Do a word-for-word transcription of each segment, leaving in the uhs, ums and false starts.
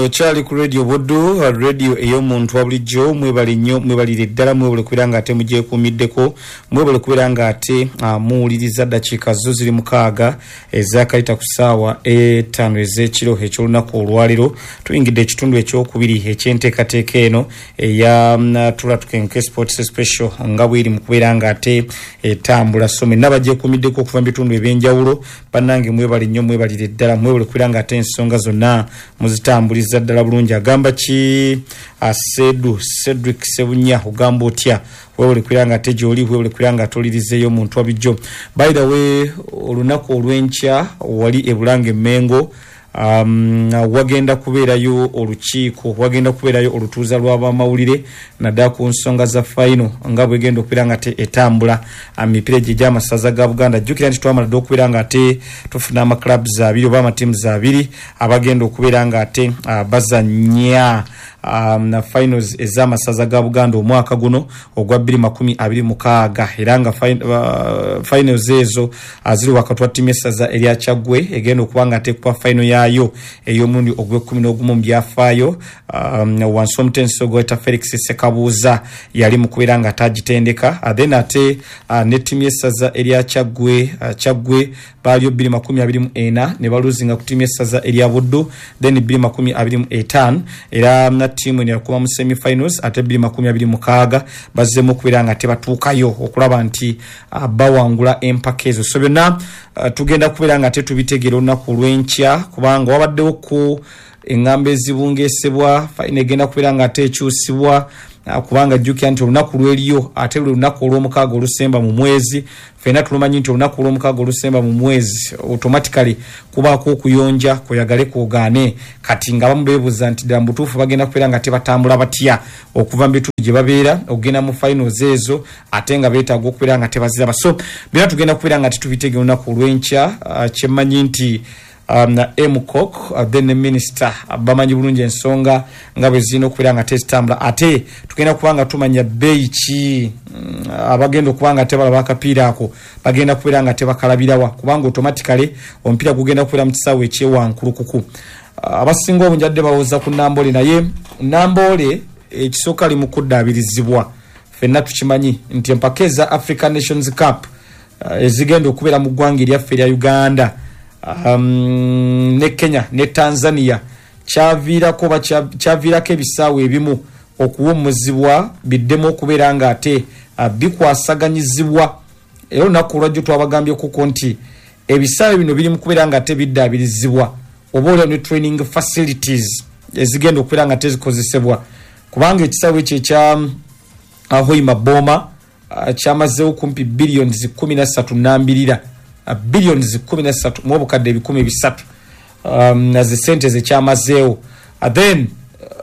Okyali ku Radio Buddu, radio ey'omuntu wa bulijjo. Mwebale nnyo, mwebalire ddala, mwebale kubeera nga ate mugyekuumiddeko, mwebale kubeera nga ate uh, muwuliriza. Ddakiika zo ziri mukaaga ezakayita ku ssaawa etaano ez'ekiro eky'olunaku olwaleero. Tuyingidde ekitundu ekyokubiri ekyenteekateeka eno eya mm, Tula Tukenke Sports Special nga bweri mu kubeera nga ate etambula. So mwenna bagyekuumiddeko okuva mu bitundu ebyenjawulo, bannange mwebale nnyo, mwebalire ddala, mwebale kubeera nga ate ensonga zonna muzitambuliza ddala bulungi. Agamba ki Asedu Cedric Sebunya, ogamba otya? Weebale kubeera nga ate gy'oli, weebale kubeera nga atolirizeeyo omuntu wabijjo. By the way, olunaku olw'enkya wali e Bulange Mengo um, wagenda kubeerayo olukiiko, wagenda kubeerayo olutuuza lw'abamawulire naddala ku nsonga za final nga bwegenda okubeera nga te etambula emipiira egyo egy'amasaza ga Buganda. Jjukira nti twamala dde okubeera nga ate tufuna amaclubs abiri oba amatiimu abiri abagenda okubeera nga ate uh, bazannya um, na finals ez'amasaza ga Buganda omwaka guno ogwa bbiri makumi abiri mukaaga, era nga fin, uh, finals ezo ziri wakati wa ttiimu y'essaza erya Kyaggwe egenda okuba nga ate kuba final yaayo ey'omulundi ogw'ekkumi n'ogumu mu byafaayo, um, wansi omutendesi ogweta Felix Sekabuuza yali mu kubeera nga atagitendeka. uh, then ate uh, ne ttiimu y'essaza erya Kyaggwe, uh, Kyaggwe baaliyo bbiri makumi abiri mu ena ne baluzinga ku ttiimu y'essaza erya Buddu, then bbiri makumi abiri mu etaano era na ttiimu eno yakuba mu semifinals, ate bbiri makumi abiri mukaaga bazzeemu okubeera nga tebatuukayo okulaba nti uh, bawangula empaka ezo. So byonna uh, tugenda kubeera nga tetubitegeera olunaku olw'enkya, kubanga wabaddewo ku eŋŋambo ezibungeesebwa, final egenda kubeera nga ate ekyusibwa, uh, kubanga jjukira nti olunaku lweriyo ate lwe lunaku olw'omukaaga olusemba mu mwezi. Ffenna tulumanyi nti olunaku olw'omukaaga olusemba mu mwezi automatically kubaako okuyonja kweyagale kwogaane. Kati nga abamu beebuuza nti ddala mu butuufu bagenda kubeera nga tebatambula batya okuva mu bitundu gye babeera okugenda mu finals ezo, ate nga beetaaga okubeera nga tebaziraba. So byonna tugenda kubeera nga tetubitegeera olunaku olw'enkya. uh, kyemmanyi nti um, M C O C uh, then minister uh, bamanyi bulungi ensonga nga bwe zirina okubeera nga tezitambula. Ate tugenda kuba nga tumanya bbeeyi ki mm, abagenda okuba nga tebalaba akapiira ako bagenda kubeera nga tebakalabirawa, kubanga automatically omupiira gugenda kubeera mu kisaawe ekyewankulukuku. uh, abasinga obungi adde bawoza ku Namboole, naye Namboole ekisooka ali mu kuddaabirizibwa. Ffenna tukimanyi nti empaka eza African Nations Cup uh, ezigenda okubeera mu ggwanga eryaffe erya Uganda um, ne Kenya ne Tanzania, kyaviirako oba kyaviirako ebisaawe ebimu okuwummuzibwa biddemu okubeera nga ate uh, bikwasaganyizibwa. Era olunaku olwajjo twabagambyekuko nti ebisaawe bino biri mu kubeera nga ate biddaabirizibwa, oba olya ne training facilities ezigenda okubeera nga tezikozesebwa, kubanga ekisaawe ekyo ekya uh, Hoima Boma uh, kyamazeewo kumpi billions kumi na ssatu nambirira, uh, billions kumi na ssatu mu obukadde ebikumi bisatu um, naze sente zekyamazeewo. uh, then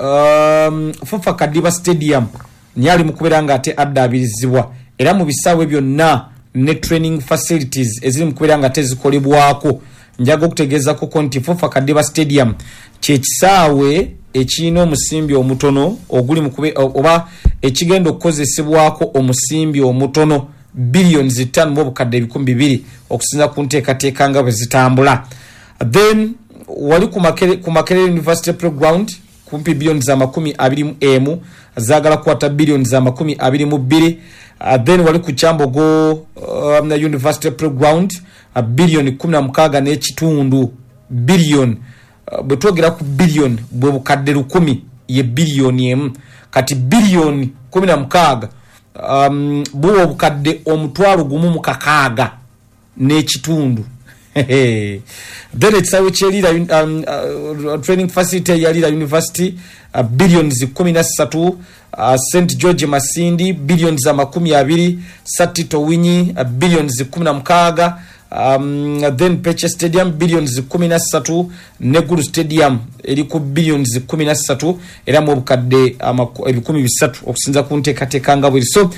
um, Fufa Kadiba Stadium niye ali mu kubeera nga ate addaabirizibwa. Era mu bisaawe byonna ne training facilities eziri mu kubeera nga tezikolebwako, njaga okutegeezakoko nti Fufa Kadiba Stadium kyekisaawe ekirina omusimbi omutono oguli mu kube oba ekigenda okukozesebwako omusimbi omutono, billions ttaano mu obukadde ebikumi bibiri, okusinza ku nteekateeka nga bwe zitambula. Then wali ku Makerere, ku Makerere University Playground kumpi billions amakumi abiri mu emu, zaagala kukwata billions amakumi abiri mu bbiri. uh, then wali ku Kyambogo um, University Playground uh, billion kumi na mukaaga n'ekitundu. Billion, uh, bwe twogera ku billion, bwe bukadde lukumi ye biliyoni emu. Kati biliyoni kumi na mukaaga um, buwa obukadde omutwalo gumu mu kakaaga n'ekitundu. Then ekisaawe kyerira um, uh, training facility ya Lira University uh, billions kumi na ssatu. uh, Saint George Masindi billions amakumi abiri. Sir Tito Owiny uh, billions kumi na mukaaga. um, then Pece Stadium billions kumi na ssatu, ne Gulu Stadium eri ku billions kumi na ssatu era mu obukadde ebikumi bisatu, okusinza ku nteekateeka nga bweri. So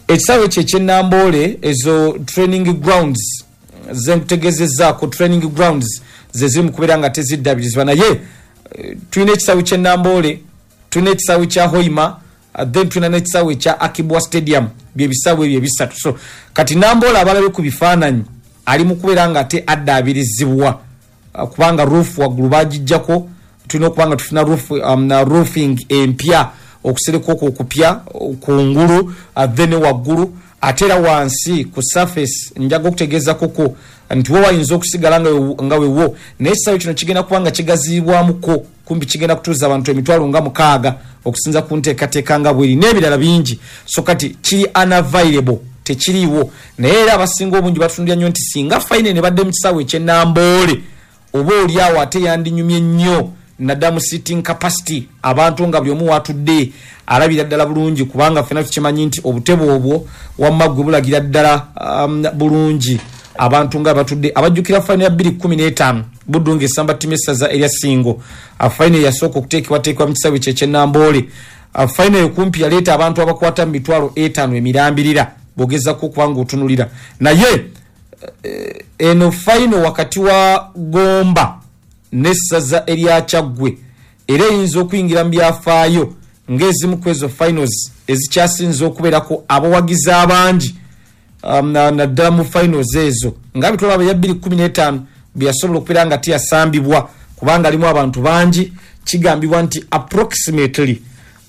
ekisaawe ekyo ekyenamboole, ezo training grounds zenkutegezezaako, training grounds ze ziri mu kubeera nga teziddabirizibwa. Naye eh, tulina ekisaawe kyenamboole, tulina ekisaawe kya Hoima, uh, then tulina n'ekisaawe ekya Akii Bua Stadium, byebisaawe ebyo ebisatu. So kati Namboole abalabe ku bifaananyi ali mu kubeera nga ate addaabirizibwa, uh, kubanga roof waggulu bagijjako. Tulina okuba nga tufuna roof, um, roofing empya, okusereka okwo okupya kungulu, then waggulu, ate era wansi ku surface. Njaga okutegeeza koko nti wo wayinza okusigala nga wewo, naye ekisaawe kino kigenda kuba nga kigaziyibwamuko, kumpi kigenda kutuuza abantu emitwalo nga mukaaga okusinza ku nteekateeka nga bweri n'ebirala bingi. So kati kiri unavailable, tekiriiwo. Naye era abasinga obungi batunulira nnyo nti singa final ne badde mu kisaawe eky'e Namboole, oba oli awo ate yandinyumye nnyo, naddala mu sitting capacity, abantu nga buli omu watudde alabira ddala bulungi, kubanga ffena tukimanyi nti obutebe obwo wamma gwe bulagira ddala um, bulungi abantu nga batudde. Abajjukira final ya bbiri kkumi n'etaano, Buddu ng'esamba ttiimu essaza erya Singo, final yasooka okuteekebwateekebwa mu kisaawe kye eky'e Namboole. Final ekumpi yaleeta abantu abakwata mu mitwalo etaano emirambirira bw'ogezako okuba nga otunulira. Naye eh, eno final wakati wa Gomba n'essaza erya Kyaggwe era eyinza okuyingira mu byafaayo ng'ezimu ku ezo finals ezikyasinze okubeerako abawagizi abangi, um, naddala mu finals ezo nga bitwalaba ya bbiri kkumi n'etaano bwe yasobola okubeera nga teyasambibwa kubanga alimu abantu bangi. Kigambibwa nti approximately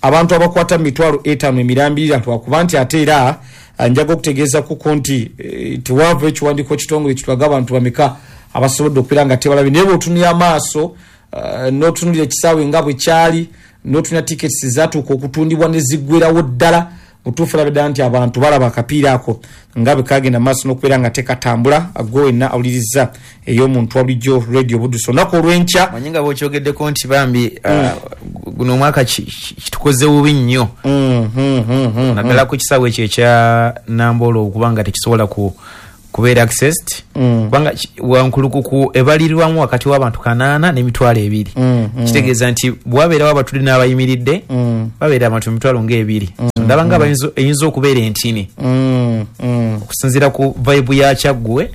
abantu abakwata mu mitwalo etaano emirambirira, lwakuba nti ate era njaga okutegeeza kuko nti e, tewaava ekiwandiiko kitongole kitwaga abantu bameka abasobodde okubeera nga tebalabi. Naye bweotunulira amaaso, uh, n'otunulira ekisaawe nga bwe kyali, n'otunulira tickets zatuuka okutundibwa ne ziggwerawo ddala, mutuufu olabe ddala nti abantu balaba akapiira ako nga bwe kagenda maaso n'okubeera nga tekatambula. Gwe wenna awuliriza ey'omuntu wa bulijjo, Radio Buduso, olunaku olw'enkya. Manyi nga bwokyogeddeko nti bambi, uh, guno omwaka kitukoze bubi nnyo, mm, mm, mm, naddala ku kisaawe ekyo ekya Namboole okubanga tekisobola ku kubeera accessed, kubanga Wankulukuku ebalirirwamu wakati w'abantu kanaana n'emitwalo ebiri. Kitegeeza nti bwabeerawo abatudde n'abayimiridde, babeera abantu emitwalo ng'ebiri. Ndaba nga eyinza okubeera entini okusinziira ku vibe ya Kyaggwe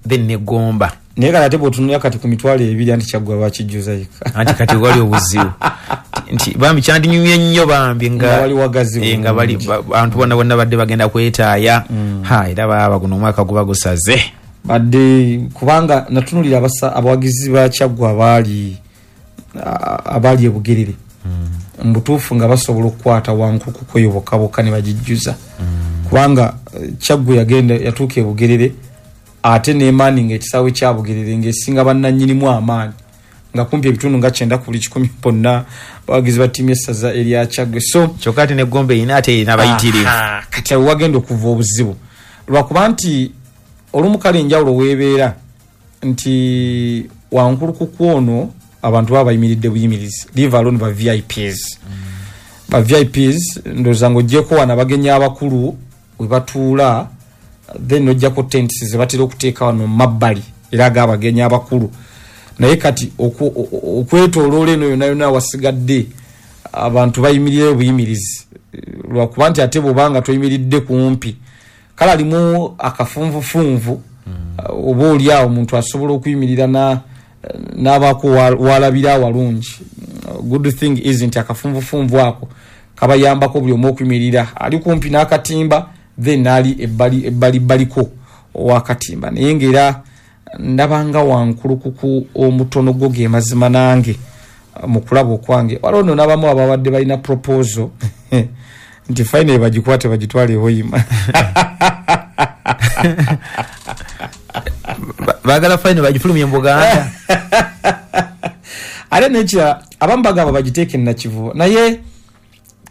then negomba. Naye kati ate bwotunulira kati ku mitwalo ebiri, anti Kyaggwe bakijjuza yeka. Anti kati wali obuzibu nti bambi kyandinyumye nnyo bambi nga wali wagazi, eh, nga bali abantu bonna bonna badde bagenda kwetaaya mm. Ha, era baaba guno omwaka guba gusaze. Badde kubanga natunulira abawagizi ba Kyaggwe abaali abaali ebugerere mm. mubutuufu nga basobola okukwata Wankulukuku eyo bokka bokka ne bagijjuza mm. kubanga eh, Kyaggwe yagenda yatuuka ebugerere ate nemaani nga ekisaawe kya Bugerere ng'esinga bannannyinimu amaanyi, nga kumpi ebitundu nga kyenda ku buli kikumi bonna bawagizi ba ttiimu essaza erya Kyaggwe. So kyokka ate negomba erina ate erina abayitirivu. Kati awo wagenda okuva obuzibu, lwakuba nti olumu kale enjawulo weebeera nti Wankulukuku ono abantu baba bayimiridde buyimirizi, leave alone ba V I Ps mm. Ba V I Ps ndowooza ng'oggyeko wano abagenyi abakulu we batuula, then nojjako tents ze batera okuteeka wano mu mabbali era ag'abagenyi abakulu. Naye kati okwetooloola eno yonna yonna wasigadde abantu bayimirireyo buyimirizi, lwakuba nti ate bwobanga toyimiridde kumpi, kale alimu akafunvufunvu mm. oba oli awo omuntu asobola okuyimirira n'abaako walabira awalungi. Good thing is nti akafunvufunvu ako kabayambako buli omu okuyimirira ali kumpi n'akatimba, then naali ebbali ebbali bbaliko owakatimba. Naye ngaera ndabanga Wankulukuku omutono gwo ge mazima nange mu kulaba okwange. Waliwo nno n'abamu ababadde balina proposal nti final bagikwate bagitwale ehoyima. Bagala final bagifulumye mu Buganda. Ate nekira abamu bagamba bagiteeke Nakivubo, naye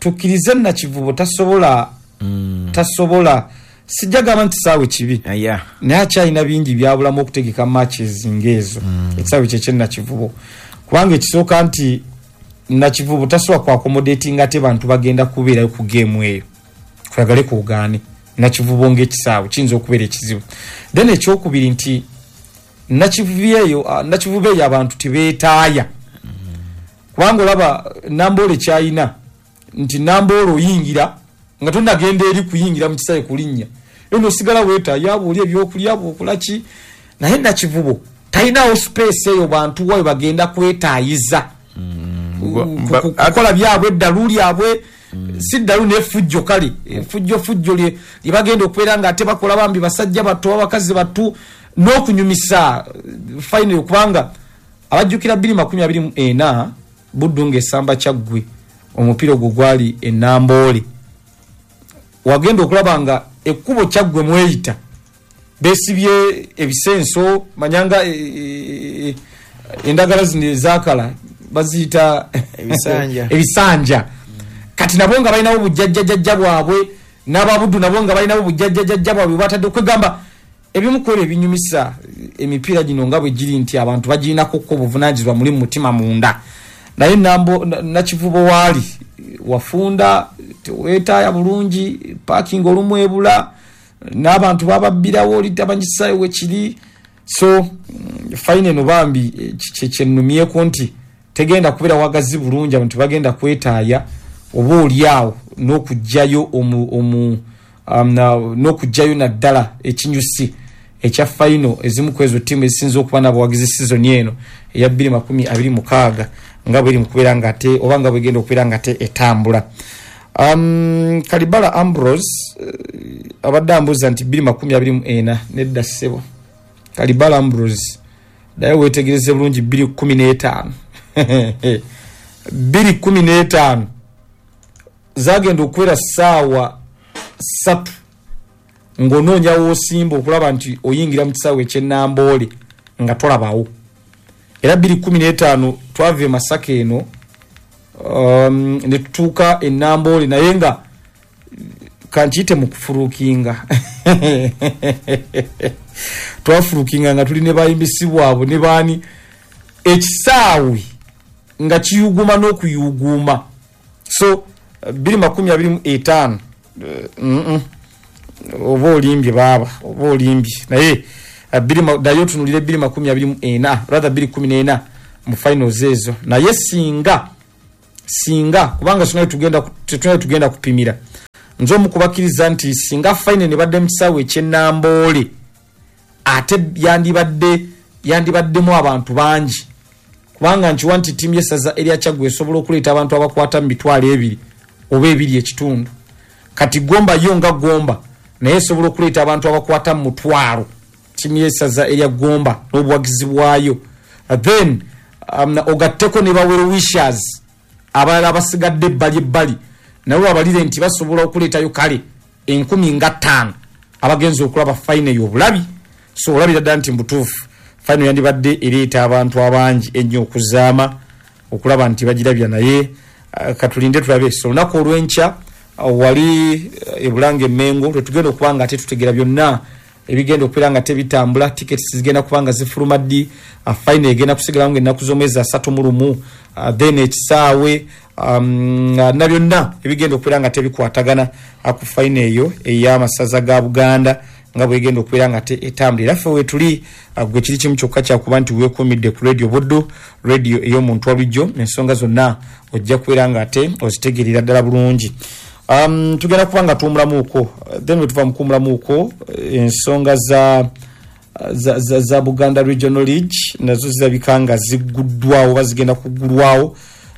tukkirize Nakivubo tasobola mm. tasobola. Sijja gamba nti saawe kibi, naye akyalina bingi byabulamu okutegeka matches ngaezo mm. ekisaawe kyekye Nakivubo, kubanga ekisooka nti Nakivubo tasobola kuaccommodatinga ate bantu bagenda kubeerayo ku geemu eyo. Twagale kugaane, Nakivubo ngaekisaawe kiyinza okubeera ekizibu. Then ekyokubiri nti Nakivubo eyo Nakivubo eyo abantu tebeetaaya, kubanga olaba Namboole kyayina nti Namboole oyingira nga tonagenda eri kuyingira mu kisaawe kulinnya, eno osigala weetaaya bwoli ebyokulya bwokolaki. Naye Nakivubo talinawo space eyo bantu wayo bagenda kwetaayiza kukola byabwe eddalu lyabwe, si ddalu nefujjo, kale efujjo fujjo lye bagenda okubeera nga ate bakola bambi basajja bato abakazi batu n'okunyumisa final. Kubanga abajjukira bbiri makumi abiri mu ena Buddu ng'esamba Kyaggwe, omupiira ogwo gwali e Namboole. Wagenda okulaba nga ekkubo Kyaggwe mweyita beesibye ebisenso, manyanga e, e, endagala zino ezaakala baziyita ebisanja, ebisanja. Kati nabo nga balinawo bujjajjajjajja bwabwe, n'ababuddu nabo nga balinawo bujjajjajjajja bwabwe batadde okwegamba ebimu ku ebyo ebinyumisa emipiira gino nga bwe giri nti abantu bagirinako ko obuvunaanyizibwa muli mu mutima munda. Naye Nambo Nakivubo waali wafunda teweetaaya bulungi, parking olumu ebula, n'abantu bababbirawo oli tamanyi we kiri. So fine eno bambi kyenumyeko nti tegenda kubeera wagazi bulungi, abantu bagenda kwetaaya oba oli awo n'okuggyayo omu, omu, um, n'okuggyayo naddala ekinyusi ekya final ezimu ku ezo ttiimu ezisinze okuba n'abawagizi season eno eya bbiri makumi abiri mukaaga nga bweri mu kubeera nga ate oba nga bwegenda okubeera nga ate etambula. Um, Kalibala Ambrose uh, abadde ambuuza nti bbiri makumi abiri mu ena, nedda ssebo. Kalibala Ambrose naye weetegereze bulungi bbiri kkumi n'etaano bbiri kkumi n'etaano zagenda okubeera ssaawa ssatu ng'onoonya w'osimba okulaba nti oyingira mu kisaawe eky'e Namboole nga tolabawo. Era bbiri kkumi n'etaano twava e Masaka eno um, ne tutuuka e Namboole, naye nga kankiyite mu kufulukinga twafulukinga nga tuli ne bayimbisi bwabwe ne baani, ekisaawe nga kiyuguma n'okuyuguma. So bbiri makumi abiri mu etaano mm -mm. oba olimbye baaba, oba olimbye, naye naye otunulire bbiri makumi abiri mu ena, rather bbiri kkumi n'ena mu finals ezo. Naye singa singa kubanga singa tugenda tetulina tugenda kupimira, nze omu kubakkiriza nti singa final ne badde mu kisaawe eky'e Namboole ate yandibadde yandibaddemu abantu bangi, kubanga nkiwa nti ttiimu y'essaza erya Kyaggwe esobola okuleeta abantu abakwata mu mitwalo ebiri oba ebiri ekitundu. Kati Gomba yo nga Gomba naye esobola okuleeta abantu abakwata mu mutwalo, ttiimu y'essaza erya Gomba n'obuwagizi bwayo. Then um, ogatteko ne ba well wishers abalala abasigadde ebbali ebbali, nabo babalire nti basobola okuleetayo kale enkumi nga ttaano abagenza okulaba final y'obulabi. So olabira ddala nti mubutuufu final yandibadde ereeta abantu abangi ennyo okuzaama okulaba nti bagirabya, naye uh, katulinde tulabe. So olunaku olw'enkya uh, wali uh, e Bulange Mengo lwetugenda okuba nga ate tutegera byonna ebigenda okubeera nga tebitambula. Tickets zigenda kuba nga zifuluma ddi, uh, final egenda kusigalawo ng'ennaku z'omwezi asatu mu lumu, uh, then ekisaawe um, na byonna ebigenda okubeera nga tebikwatagana ku final eyo ey'amasaza ga Buganda nga bwegenda okubeera nga etambula. Era ffe weetuli gwe kiri kimu kyokka kyakuba nti weekuumidde ku Radio Buddu, radio ey'omuntu wa bulijjo, ensonga zonna ojja kubeera nga ate ozitegeerera ddala bulungi. Um, tugenda kuba nga tuwumulamuuko, then bwe tuva mu kuwumulamuuko ensonga za, za, za, za Buganda Regional League nazo zirabika nga zigguddwawo oba zigenda kuggulwawo.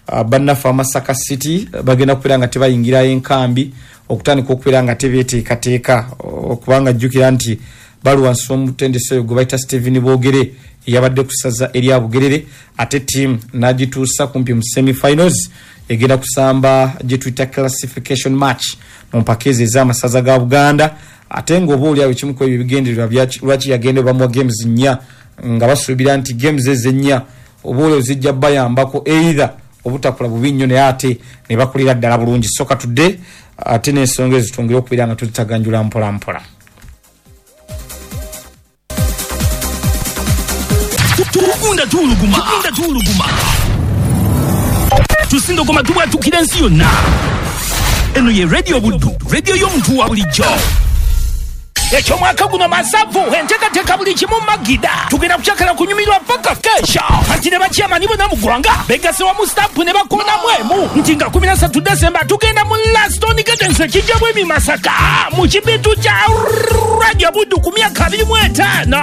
Uh, bannaffe Amasaka City bagenda kubeera nga tebayingirayo enkambi okutandika okubeera nga tebeeteekateeka, okubanga jjukira nti bali wansi w'omutendesi oyo gwe bayita Stephen Boogere eyabadde ku ssaza erya Bugerere, ate ttiimu n'agituusa kumpi mu semifinals, egenda kusamba gye tuyita classification match mu mpaka ezo ez'amasaza ga Buganda. Ate ng'oba oli awo ekimu ku ebyo ebigendererwa lwaki yagenda bamuwa games nnya, nga basuubira nti games ezo ennya oba oli zijja bayambako either obutakola bubi nnyo naye ate ne bakulira ddala bulungi. So katudde ate n'ensonga ezo twongere okubeera nga tuzitaganjula mpola mpola. Tugunda tuwuluguma, tugunda tuwuluguma, tusindogoma tubwatukira ensi yonna. Eno ye Radio Buddu, radio y'omuntu wa bulijjo. Ekyomwaka guno masavu enteekateeka buli kimu magida, tugenda kukyakala kunyumirwa paka kesha. Anti ne bakyamani bonna mu ggwanga begase wamu stampu ne bakoonamu emu nti nga kumi na ssatu Desemba tugenda mu Laston Gardens ekijja bwemi Masaka mu kibitu kya Radio Buddu ku myaka abiri mu etaano.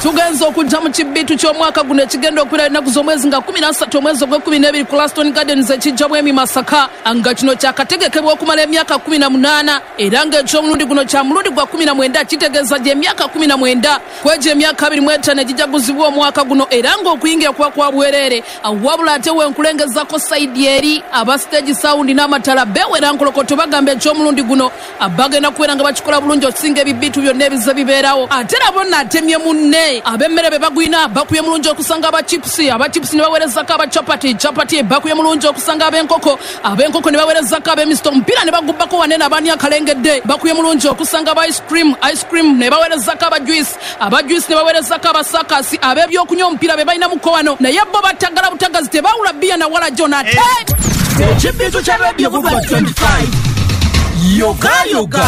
Tugenza okujja mu kibitu ky'omwaka guno ekigenda okubeera ennaku z'omwezi nga kumi na ssatu omwezi ogw'ekkumi n'ebiri ku Laston Gardens ekijja bwemi Masaka, nga kino kyakategekebwa okumala emyaka kumi na munaana era ng'eky'omulundi guno kya mulundi gwa kumi na mwenda Kitegeeza gy'emyaka kumi na mwenda kwegyo emyaka abiri mu etaano egijaguzibwa omwaka guno, era ng'okuyingira kuba kwa bwereere. Wabula ate wenkulengezako sayidi eri aba stage sound n'amatala bewera nkolokoto bagamba eky'omulundi guno bagenda kubeera nga bakikola bulungi okusinga ebibitu byonna ebize bibeerawo. Ate era bonna atemye munne ab'emmere be bagwina bakuye mulungi okusanga aba chips, aba chips ne baweerezako aba chapati, chapati bakuye mulungi okusanga ab'enkoko, ab'enkoko ne baweerezako ab'emisito, omupiira ne bagubbako wanene abaani akalengedde bakuye mulungi okusanga aba ice cream, ice cream ne baweerezako aba juice, aba juice ne baweerezako abasakasi, ab'ebyokunywa omupiira be balina muko wano, naye bo batagala butagazi tebawula bbiya na wala jona. Ate Ekibintu kya Radio Buba twenty-five Yoga Yoga.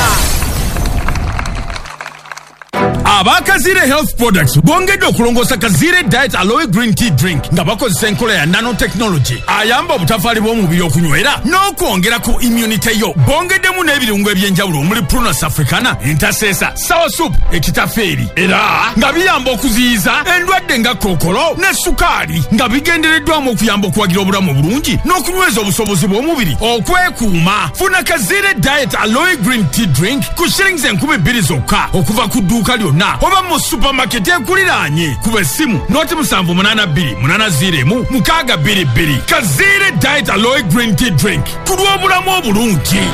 Abakazire Health Products bongedde okulongoosa Kazire Diet Aloe Green Tea Drink nga bakozesa enkola ya nanotechnology ayamba obutafaali bw'omubiri okunywera n'okwongera ku immunity yo. Bongeddemu n'ebirungo eby'enjawulo omuli Prunus africana, entasesa, sour soup, ekitafeeri, era nga biyamba okuziyiza endwadde nga kookolo ne sukaali, nga bigendereddwamu okuyamba okuwagira obulamu obulungi n'okunyweza obusobozi bw'omubiri okwekuuma. Funa Kazire Diet Aloe Green Tea Drink ku shillings enkumi bbiri zokka okuva ku dduuka lyonna oba mu supermarket ekuliraanye. Kuba essimu noti musanvu munaana bbiri munaana ziro emu mukaaga bbiri bbiri. Kazire Diet Aloe Green Tea Drink ku lw'obulamu obulungi.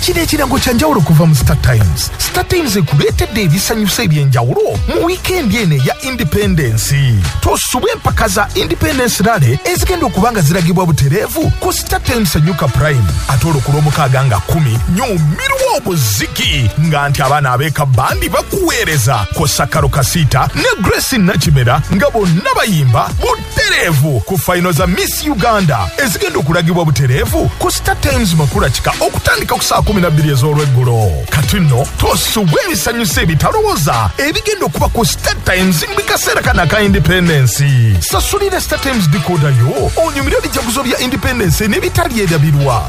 Kino ekirango kya njawulo kuva mu Star Times. Star Times ekuleetedde ebisanyusa eby'enjawulo mu wiikendi eno eya Independence. Tosubwa empaka za Independence Rally ezigenda okuba nga ziragibwa butereevu ku Star Times Enyuka Prime. Ate olwo ku Lwomukaaga nga kkumi nyumirwa obuziki nga nti abaana ab'eka bandi bakuweereza kw'ossa Karo Kasita ne Grace Nakimera nga bonna bayimba butereevu ku fayino za Miss Uganda ezigenda okulagibwa butereevu ku Star Times Makula Kika okutandika ku saa kumi na bbiri ez'olweggulo. Kati nno tosubwa ebisanyusa ebitalowooza ebigenda okuba ku Star Times mu kaseera kano aka Independence. Sasulira Star Times decoder yo onyumire ebijaguzo bya Independence n'ebitali erabirwa.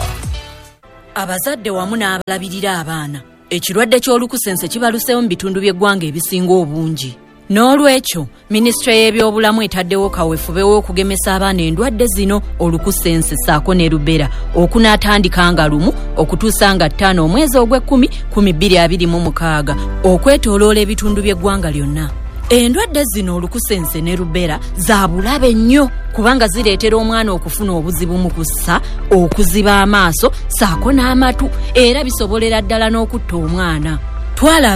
Abazadde wamu n'abalabirira abaana, ekirwadde ky'olukusense kibaluseewo mu bitundu by'eggwanga ebisinga obungi. N'olwekyo minisitule y'ebyobulamu etaddewo kaweefube w'okugemesa abaana endwadde zino olukusense ssaako ne rubera okunaatandika nga lumu okutuusa nga ttaano omwezi ogw'ekkumi kumi bbiri abiri mu mukaaga okwetooloola ebitundu by'eggwanga lyonna. Endwadde zino olukusense ne rubera za bulabe nnyo kubanga zireetera omwana okufuna obuzibu mu kussa, okuziba amaaso ssaako n'amatu, era bisobolera ddala n'okutta omwana. Twala